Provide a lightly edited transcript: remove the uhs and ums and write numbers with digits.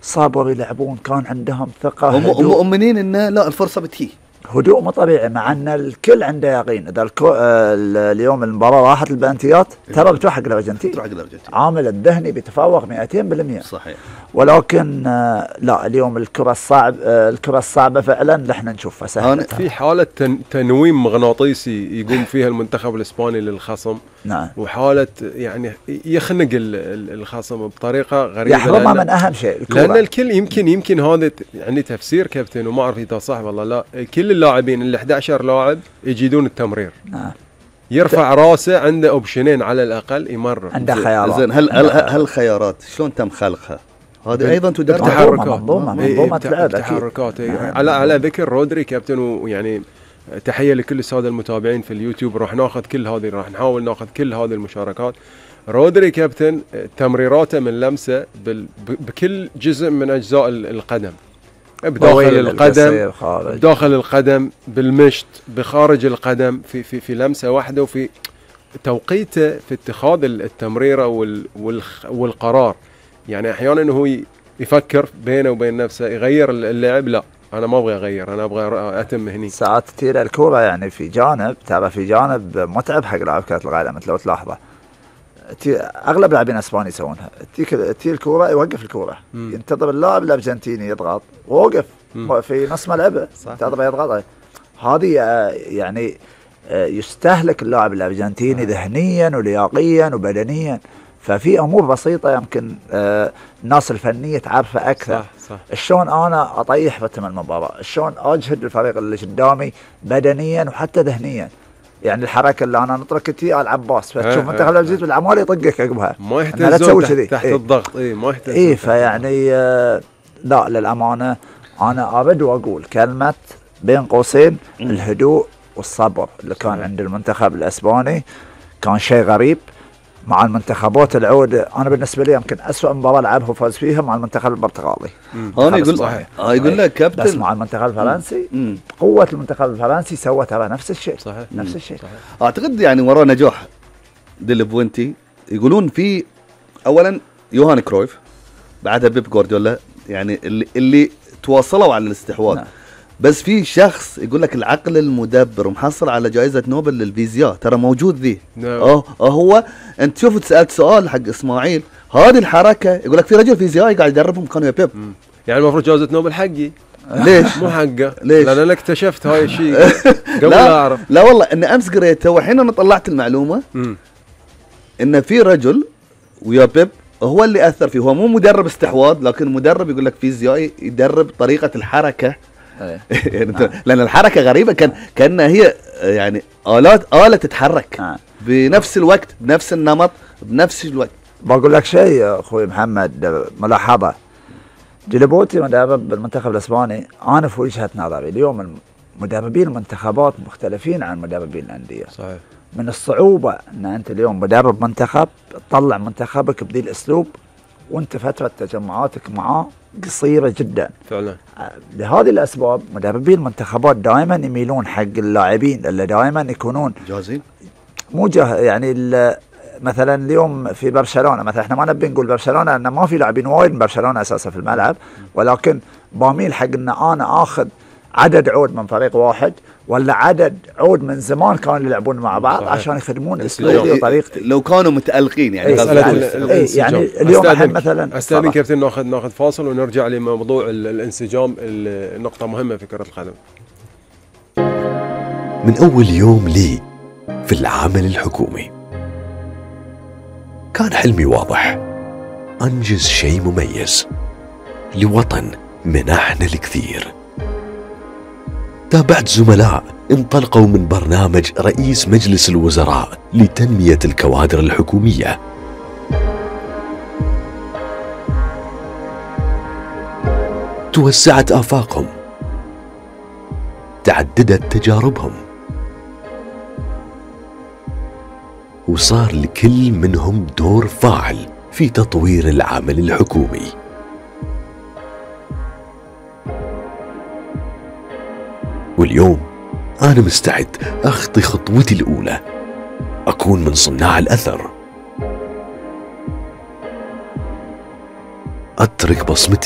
صابر يلعبون، كان عندهم ثقة، هم مؤمنين إنه لا الفرصة بتجي، هدوء مو طبيعي، مع ان الكل عنده يقين اذا اليوم المباراه راحت البلنتيات ترى بتروح حق الارجنتين، عامل الذهني بيتفوق 200%. صحيح. ولكن لا، اليوم الكره الصعبه فعلا احنا نشوفها سهله. في حاله تنويم مغناطيسي يقوم فيها المنتخب الاسباني للخصم. نعم. وحاله يعني يخنق الخصم بطريقه غريبه، يحرمها من اهم شيء الكرة. لان الكل يمكن هذا يعني تفسير كابتن، وما اعرف اذا صح والله لا. كل اللاعبين ال 11 لاعب يجيدون التمرير. نعم. يرفع راسه، عنده اوبشنين على الاقل يمرر. عنده خيارات. زين، هل الخيارات شلون تم خلقها؟ هذه ايضا تدرب منظومه لعب، تحركات. على ذكر رودري كابتن، ويعني تحيه لكل الساده المتابعين في اليوتيوب، راح نحاول ناخذ كل هذه المشاركات. رودري كابتن تمريراته من لمسه بكل جزء من اجزاء القدم، بداخل القدم، بالمشط، بخارج القدم، في لمسه واحده، وفي توقيته في اتخاذ التمريره والقرار. يعني احيانا هو يفكر بينه وبين نفسه يغير اللعب، لا انا ما ابغى اغير، انا ابغى اتم هني. ساعات تثير الكوره يعني في جانب متعب حق لاعب كره القدم. مثل لو تلاحظه اغلب لاعبين اسباني يسوونها، تي الكوره يوقف الكوره، ينتظر اللاعب الارجنتيني يضغط، ووقف في نص ملعبه ينتظر يضغط. هذه يعني يستهلك اللاعب الارجنتيني ذهنيا ولياقيا وبدنيا. ففي امور بسيطه يمكن الناس الفنيه تعرفها اكثر. صح. شلون انا اطيح رتم المباراه، شلون اجهد الفريق اللي قدامي بدنيا وحتى ذهنيا. يعني الحركه اللي انا نتركتي العباس، فتشوف انت خلال الجيت بالعمال يطقك عقبها، ما يحتاج تحت الضغط. ما يحتاج. فيعني لا، للامانه انا ابد واقول كلمه بين قوسين الهدوء والصبر اللي كان عند المنتخب الاسباني كان شيء غريب. مع المنتخبات العود انا بالنسبه لي يمكن اسوء مباراه لعبها وفاز فيها مع المنتخب البرتغالي. يقول لك كابتن، بس مع المنتخب الفرنسي قوه المنتخب الفرنسي سوى ترى نفس الشيء. صحيح. نفس الشيء. اعتقد يعني وراء نجاح ديل بوينتي يقولون في اولا يوهان كرويف، بعدها بيب جوارديولا، يعني اللي تواصلوا على الاستحواذ. نعم. بس في شخص يقول لك العقل المدبر محصل على جائزة نوبل للفيزياء، ترى موجود ذي. هو انت تشوف سألت سؤال حق اسماعيل، هذه الحركة يقول لك في رجل فيزيائي قاعد يدربهم كانوا يا بيب. يعني المفروض جائزة نوبل حقي. ليش؟ مو حقه. ليش؟ لان انا اكتشفت هاي الشيء قبل لا اعرف. لا والله ان امس قريته، وحين انا طلعت المعلومة ان في رجل ويا بيب هو اللي اثر فيه. هو مو مدرب استحواذ، لكن مدرب يقول لك فيزيائي يدرب طريقة الحركة. لأن الحركة غريبة، كأنها هي يعني آلة تتحرك بنفس الوقت، بنفس النمط، بنفس الوقت. بقول لك شيء أخوي محمد، ملاحظة. جيلبوتي مدرب المنتخب الإسباني، أنا في وجهة نظري اليوم مدربين المنتخبات مختلفين عن مدربين الأندية. صحيح. من الصعوبة أن أنت اليوم مدرب منتخب تطلع منتخبك بذي الأسلوب وأنت فترة تجمعاتك معاه قصيرة جدا فعلا. لهذه الأسباب مدربين المنتخبات دائما يميلون حق اللاعبين اللي دائما يكونون جاهزين، مو يعني مثلا اليوم في برشلونة مثلا، احنا ما نبي نقول برشلونة لأن ما في لاعبين وايد من برشلونة أساسا في الملعب، ولكن باميل حق أن أنا آخذ عدد عود من فريق واحد ولا عدد عود من زمان كانوا يلعبون مع بعض. صحيح. عشان يخدمون اسلوبي وطريقتي لو كانوا متألقين. يعني يعني اليوم مثلا استاذن كابتن ناخذ فاصل ونرجع لموضوع الانسجام، النقطة مهمة في كرة القدم. من أول يوم لي في العمل الحكومي كان حلمي واضح، أنجز شيء مميز لوطن منحنا الكثير. تابعت زملاء انطلقوا من برنامج رئيس مجلس الوزراء لتنمية الكوادر الحكومية، توسعت آفاقهم، تعددت تجاربهم، وصار لكل منهم دور فاعل في تطوير العمل الحكومي. واليوم أنا مستعد أخطي خطوتي الأولى، أكون من صناع الأثر. أترك بصمتي.